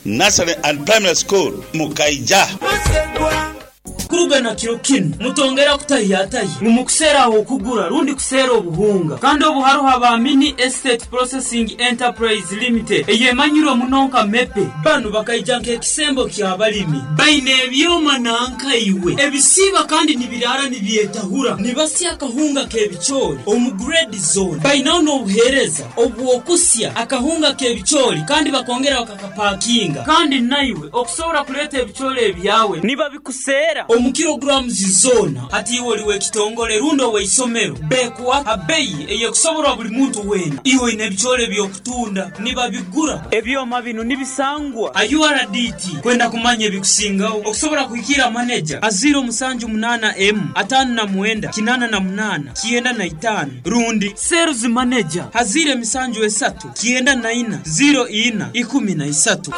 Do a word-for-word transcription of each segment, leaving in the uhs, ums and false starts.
Nursery and Primary School, Mukaija. Kuruga na kiro kinu mutongera kutahiyatahi mumukuseera okugura rundi kuseera obuhunga kandi obu haruho aba Mini Estate Processing Enterprise Limited eyemanyirwe muno nka MEPE. Banu bakaija nk'ekisembo ky'abalimi, baine ebyoma nankaiwe ebisiiba kandi nibirara nibyetahura, nibasya akahunga k'ebicoori omu grade zone. Bainaho n'obuheereza obw'okusya akahunga k'ebicoori kandi bakongera bakakapakinga, kandi naiwe okusobora kuleeta ebicoori ebyawe nibabikuseera omu kilograms zona. Hati iwe oli w'ekitongole rundi ow'eisomero, bekuwa abeyi eyekusoborwa buli muntu weena. Iwe oine ebicoori eby'okutunda nibabigura. Ebyoma binu nibisangwa a U R D T. Kwenda kumanya ebikusingaho okusobora kuhikira maneja a ziro musanju munana emu atano na mwenda kinana na munana kienda na itano rundi sales manager hazire misanju esatu kienda na ina ziro ina ikumi na isatu.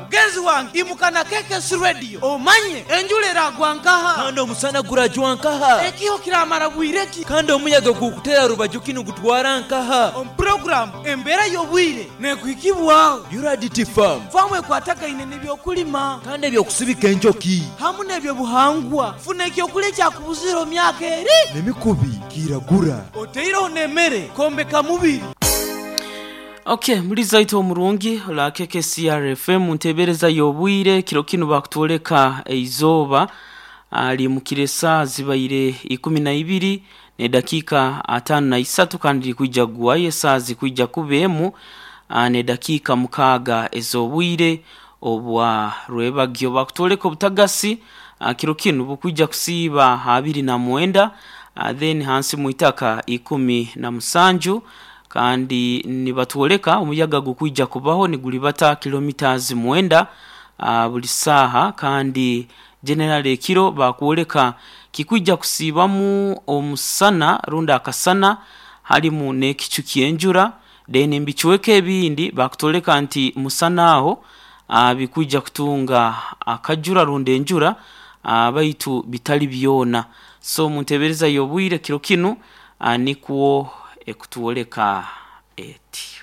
Mugenzi wange imuka na K K S Radio omanye enjura eragwa nkaha kandi omusana gurajwa nkaha ekiho kiramara bwireki kandi omuyaga gukutera rubaju kinu gutwara nkaha. Omu program embeera y'obwire nekuhikibwaho U R D T Farm famu ekwatagaine n'ebyokulima kandi ebyokusibika enjoki hamu n'ebyobuhangwa. Funa ekyokulya ekyakubuzira omu myaka eri n'emikubi kiragura oteireho n'emmere kombeka mubiri. Okay, muliza ito omurungi la K K C R F M ntebereza y'obwire kiro kinu bakutoleka eizoba ali mukiresa zibaire ikumi na ibiri ne dakika atano na isatu kandi kuija guwaye saa zikuija kubemu ne dakika mukaga ezobwire obwa rwebagyo bakutoleka obutagasi kiro kinu bukuija kusiba abiri na mwenda then hansi muitaka ikumi na musanju kandi nibatuoleka omuyaga gukuija kubaho ni gulibata kilometers mwenda uh, buli saha kandi general ekiro bakuoleka kikuija kusibamu omusana runda akasana halimu n'ekicu kyenjura then mbichweke ebindi bakutoleka nti musana aho uh, bikuija kutunga akajura runda enjura uh, baitu bitali byona. So muntebereza yobwire kiro kinu uh, nikuo ekutuoleka eti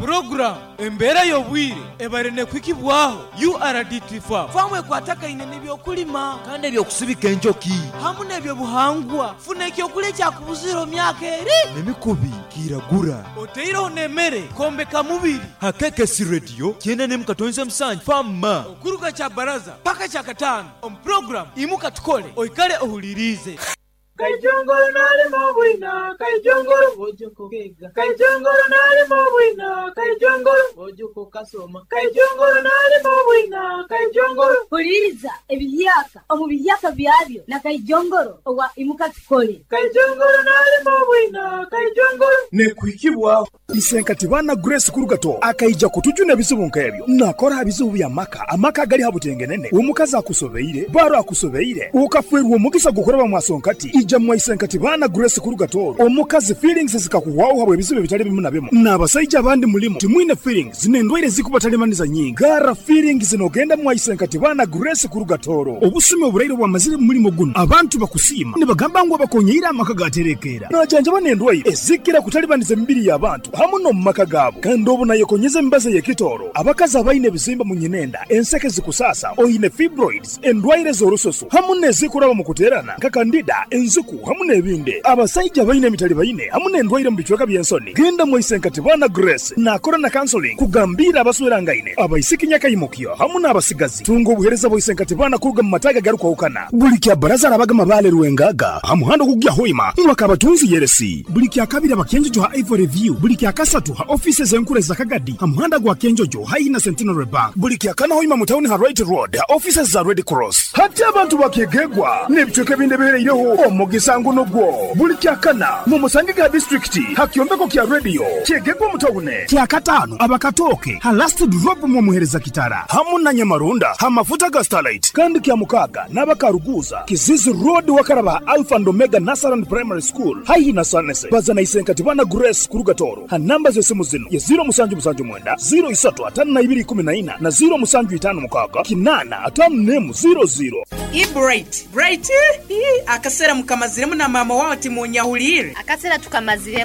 program embeera y'obwire ebare nekwikibwaho U R D T Farm famu ekwatagaine n'ebyokulima kandi ebyokusibika enjoki hamu n'ebyobuhangwa. Funa ekyokulya ekyakubuzira omu myaka eri n'emikubi kiragura oteireho n'emmere kombeka mubiri. Ha K K C Radio kyenda n'emu katonze musanju fama okuruga kya baraza paka kya kataano omu program imuka tukole oikale ohulirize. Kaijongoro nalimo bwina, kaijongoro ojoko kega, kaijongoro nalimo bwina, kaijongoro ojoko kasoma, kaijongoro nalimo bwina, kaijongoro. Huliriza ebiyaka omu biyaka byabyo na kaijongoro owa imuka tukole. Kaijongoro nalimo bwina, kaijongoro nekuhikibwa. Isenkati bana Grace Kurugato akaija kutujuna ebizibu nkebyo nakora ebizibu bya maka amaka gali habutengenene omukazi akusobeire baro akusobeire ukafwerwa omugisa gukoraba mwasonkati ija mwaisenkati bana Grace Kurugato omukazi feelings zikakuwaho habwe ebizibu bitali bimu na bimu n'abasaija abandi mulimu timwine feelings zinendwaire zikubatalemaniza nyingi gara feelings zinogenda mwaisenkati bana Grace Kurugatoro obusumi oburaire bwamazire mulimo guno abantu bakusima nibagamba ngo bakonyeira amaka gaterekera najanja banendwaire ezikira kutalibaniza emibiri y'abantu hamu no mumaka gabo kandi obu nayekonyeza embaze yekitoro abakazi abaine ebizimba mu nyinenda enseke zikusasa oine fibroids endwaire z'orusoso hamu nezikuraba mu kuterana nka kandida enzuku hamu n'ebindi abasaija baine emitali baine hamu n'endwaire mu bicweka by'ensoni. Genda mwaisenkati bana Grace nakora na counseling kugambira abaswerangaine abaisiki nyakayimukyo hamu n'abasigazi. Tunga obuhereza bwaisenkati bana kuruga mu mataga garukwahukana buli kya baraza arabaga mabale rwengaga hamuhando kugya hoima mwakabatunzi yeresi buli kya kabiri abakenjojo ha Ivory View buli kya kasatu ha offices enkure za Kagadi hamuhanda gwa Kenjojo haina Centenary Bank buli kya kana hoima mu town ha Right Road ha offices za Red Cross. Hati abantu bakegegwa n'ebicweka ebindi bihereireho omugisango nogwo buli kya kana mu Musangiga district hakyombeko kya radio kyegegwa mu town kya katano abakatoke ha last drop mu muhereza kitara hamu na Nyamarunda ha mafuta ga Starlight kandi kya mukaga n'abakaruguza Kizizi Road wakaraba Alpha and Omega Nasaran Primary School haihi na Sanese bazana isenkati bana Grace Kurugatoro ha namba z'esimu zino ye ziro musanju musanju mwenda ziro isatu atano na ibiri kumi na ina na ziro musanju itano mukaga kinana atano nemu ziro ziro. I bright bright akasera mukamaziremu na mama wao timunyahulire akasera tukamaziremu.